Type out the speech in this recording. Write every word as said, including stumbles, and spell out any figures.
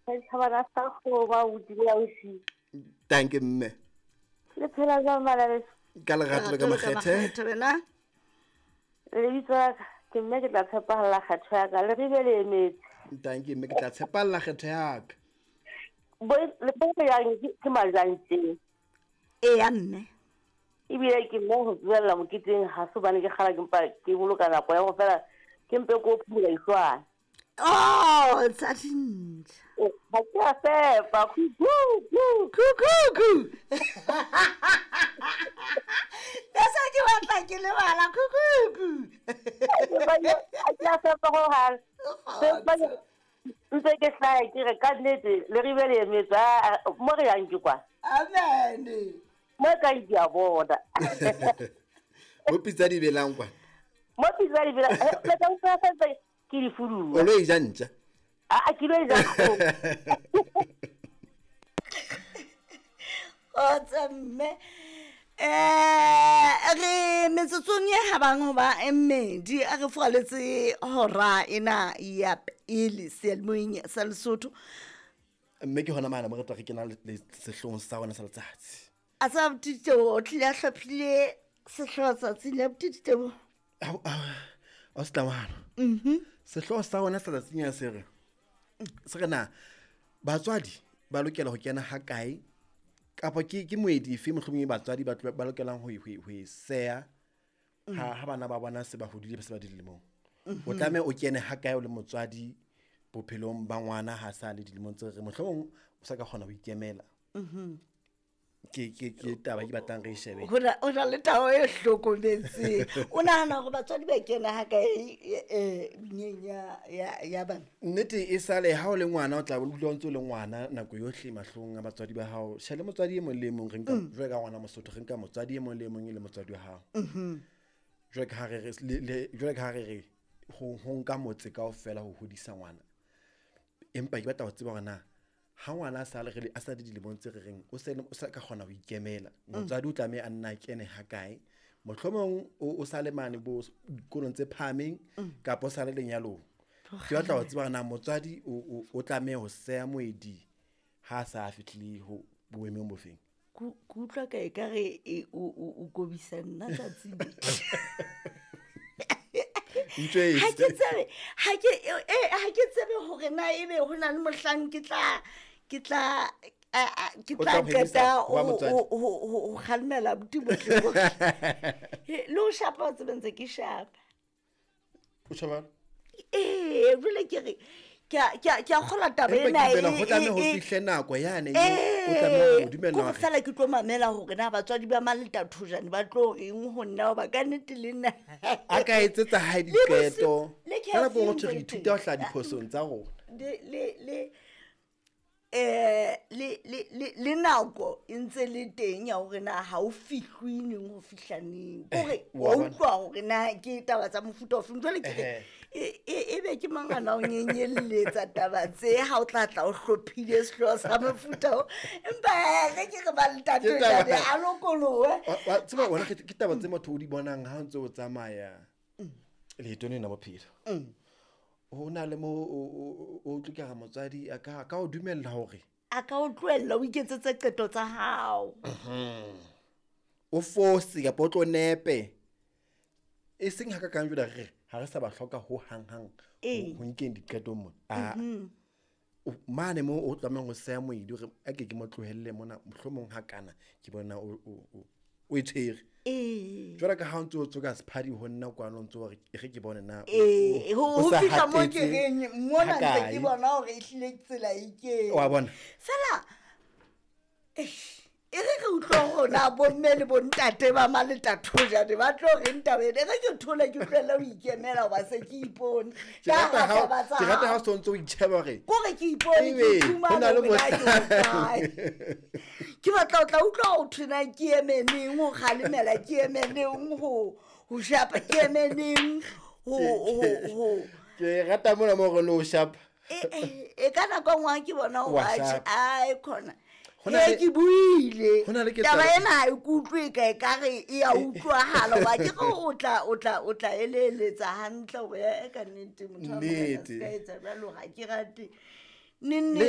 Setjhabana sa kgoba o dile ausi. Thank you mme. Le phela jwang bana beso? Ka lerato le ka makgethe. Wena? Lebitso la ka ke mme ke tla tshepahalla kgetho ya ka le ribe le emetse. Thank you mme ke tla tshepahalla kgetho ya ka. Bo le bo yang ke majang teng. Eya mme. Ebile ke mo ho tswella moketeng ha se bane ke kgala ke mpa ke boloka nako ya go fela ke mpe ko phula ihlwana. Oh, tsa dintja. Ha ke a fepa ku ku ku ku ku. Nasa ke batla ke lebala ku ku ku. Ha ke a fepa ho hang. Ntse ke hlae ke re ka nnete le ribe le emetse mo re yang ke kwa. Amen. Mo ka di a bona. Mo pitsa di belang kwa. Mo pitsa di belang. Le ka utlwa sentse ke di fuduwa. O lo e ja ntja? A ke lo e ja kgomo. Kgotsa mme. Eh re metsotsong e habang hoba e mmedi a re furaletse hora ena ya pele seyalemoyeng sa Lesotho. Mme ke hona mane mo re tla re kena le sehloohong sa rona sa letsatsi. A sa Botitebo o tlile a hlophile sehlooho tsatsing la Botitebo. O se tlamana. Mhm. Sehlooho sa rona sa tsatsing ya se re. Se re na batswadi ba lokela ho kena ha kae kapa ke ke moedi efe mohlomong batswadi ba ba lokelang ho ho e seya ha ha bana ba bona se ba hodile ba se ba dilemong. O tlameha o kene ha kae o le motswadi bophelong ba ngwana ha sa le dilemong tse re mohlomong o sa ka kgona ho ikemela. Mhm. Ke ke ke taba ke batlang re shebe. Ho na o na le taba e hlokometseng. O nahana hore batswadi ba kena ha kae eh nyeng ya ya ya bana? Nnete e sale ha o le ngwana o tla o dula o ntse o le ngwana nako yohle mahlong a batswadi ba hao. Shele motswadi e mong le e mong re nka jwale ka ngwana Mosotho re nka motswadi e mong le e mong e le motswadi wa hao. Mhm. Jwale ka ha re re le jwale ka ha re re ho ho nka motse kaofela ho hodisa ngwana. Empa ke batla ho tseba hore na ha ngwana a sa le re a sa di dilemong tse re reng o se o sa ka kgona ho ikemela motswadi o tlameha a nna kene ha kae mohlomong o sa le mane bo dikolong tse phahameng kapa o sa le lenyalong. Ke batla ho tseba na motswadi o o tlameha ho seya moedi ha sa fihlile ho boemong bofeng. Ke utlwa ka ekare o o kobisa nna tsatsing. Ha ke tsebe ha ke eh ha ke tsebe hore na ebe ho na le mohlang ke tla ke tla ke tla qeta ho ho kgalemela buti botle. Le ho shapa o tsebe ntse ke shapa. O shapa? Eh jwale ke re ke ke ke a kgola taba ena e ho tlameha ho fihle nako yane o tlameha ho dumella hore fela ke tlo mamela hore na batswadi ba Maleta Thojane ba tlo reng ho nna hoba ka nnete le nna a ka etsetsa hae diqeto. Ka nako nngwe re ithuta ho hlaha diphosong tsa rona. Le le eh le le le nako e ntse le teng ya hore na ha o fihlwe neng ho fihla neng. Kore wa utlwa hore na ke taba tsa mofuta ofe. Jwale ke re e be ke mangana o nyenyelletsa taba tse ha o tla tla o hlophile sehlooho sa mofuta o. Empa re ke re ba Letate jwale a lokolohe. Wa tseba wena ke taba tse motho o di bonang ha o ntse o tsamaya leetong lena bophelo. Ho na le mo o utlwa motswadi a ka ka o dumella hore a ka o tlohella o iketsetse qeto tsa hao. O fose kapa o tlo nepe. E seng ha ka kang jwale re ha re sa ba hloka ho hang hang ho nkeng diqeto mona. A mane mo o tlamehang ho seya moedi hore a ke ke mo tlohelle mona mohlomong ha kana ke bona o o o e tshwere. Eh. Jwale ka ha o ntse o tsoka sephadi ho nna kwano ntse o re e re ke bone na eh ho fihla mo ke reng mona ntse ke bona hore e hlile tsela e ke. Wa bona. Fela eh e re re utlwa hore na bomme le bontate ba Maleta Thojane ba tlo reng taba ena. E re ke thole ke utlwela ho ikemela hoba se ke ipone. Ke rata ha ke rata ha o ntse o itjheba hore kore ke ipone ke iphumana hore na ke hokae. Ke batla o tla utlwa ho thwe na ke eme neng ho kgalemela ke eme neng ho ho shapa ke eme neng ho ho ho ke rata mona mo re lo shapa. E e ka nako nngwe ke bona Wa hore shapa. ai khona. Ho na Ee, le ke buile. Ho na le Taba ketsahalo- ena ha e kutlwe ka e ka re e a utlwahala hoba ke re o tla o tla o tla eleletsa hantle hore e ka nnete motho wa morena Nnete. se ka etsa jwalo ha ke rate. Neng Le neng